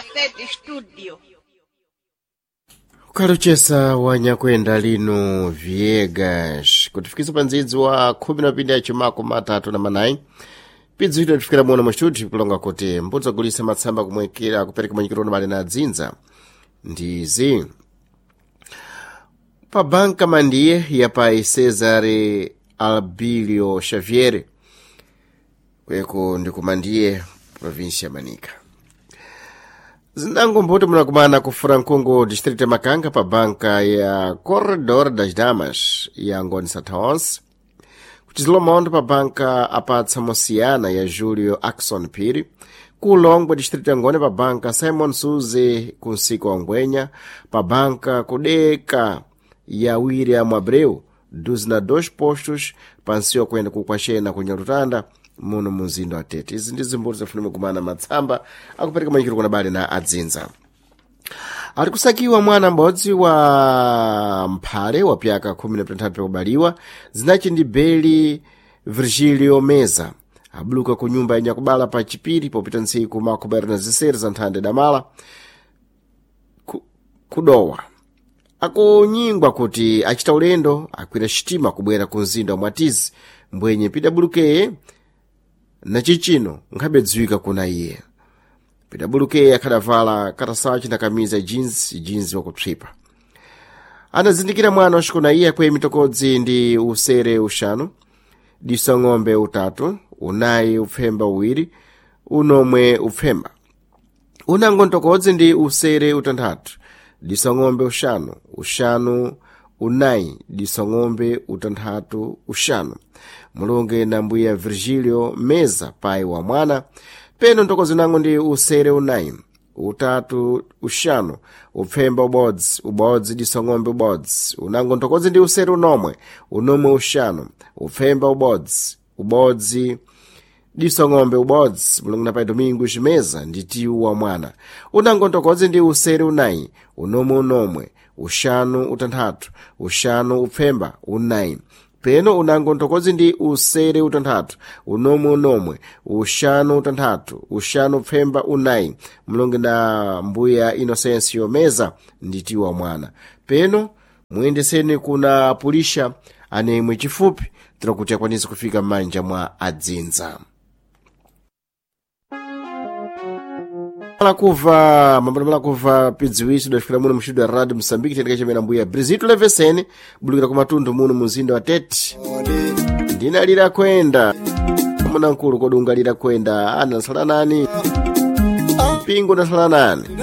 Cassette Studio. Ukaluchesa wanyakwenda lino Viegas kutifikisa pa ndzidzi wa khumi na pindi yachimako matatu na manayi pidzi ito tifikira muno mu studio kulonga kuti mbudzi agulisa matsamba kumwekera kupereka manyikiro mali na adzinza ndizi pa banka mandiye ya pai Cesare Albilio Xavier kweko ndikumandiye província ya Manica. Zindango mbuti munakumana ku Francongo distrito ya Makanga pa banka ya Corredor das Damas ya Ngoni Satawons kuchizilomondo pa banka apatsa Mosiana ya Julio Axon Phiri ku Longwe distrito ya Ngoni pa banka Simon Suze ku nsiko wa Ngwenya pa banka kudeka ya William Abreu 12 postos pansiwa kuyenda kukwachena ku Nyalutanda muno mumzinda wa Tete. Izi ndi zimbuti zafunima kumana matsamba akupereka manyikiro kuna bali na adzinza. Ali kusakiwa mwana m'bodzi wa mphale wa pyaka 13 pakubaliwa zinachi ndi Beli Virgilio Meza abuluka ku nyumba ya nyakubala pa chipiri popita ntsiku makumi na ziseri za nthanda damala kudowa akunyingwa kuti achita ulendo akwira xitima kubwera ku mzinda wa Mwatizi mbwenye pidabulukeye na chichino nkhabe dziwika kuna iye. Pidabulukeye akhadavala katasachi na kamiza ya jeans jeans wakupsipa. Anazindikira mwana waxikona iye akweye mitokodzi ndi usere uxanu, diso ng'ombe utatu, unayi upfemba uwiri, unomwe upfemba. Unango ntokodzi ndi usere utanthatu, diso ng'ombe uxanu, uxanu unayi diso ng'ombe utanthatu uxanu. Mulunge na mbuya Virgilio Meza pai wa mwana peno ntokozi nango ndi usere unayi utatu uxanu upfemba ubodzi ubodzi diso ng'ombe ubodzi unango ntokozi ndi usere unomwe unomwe uxanu upfemba ubodzi ubodzi diso ng'ombe ubodzi mulungu na pai Domingo Ximeza ndi tiwu wa mwana unango ntokodzi ndi usere unayi unomwe unomwe uxanu utanthatu uxanu upfemba unayi peno unango ntokodzi ndi usere utanthatu unomwe unomwe uxanu utanthatu uxanu upfemba unayi mlonge na mbuya Inocencio Meza ndi tiwu wa mwana peno muyendeseni kuna pulisha anemwe chifupi tira kuti akwanise kufika m'manja mwa adzinza. Malakuva mambano malakuva pidziwiso dafikira muno mxudu ya Radio Moçambique tendeka chimene mbuya Brizito Levesene bulukira ku matundu muno mumzinda wa Tete. Ndinalira kwenda muna mkulu kodi ungalira kwenda anasala nani mpingo unasala nani.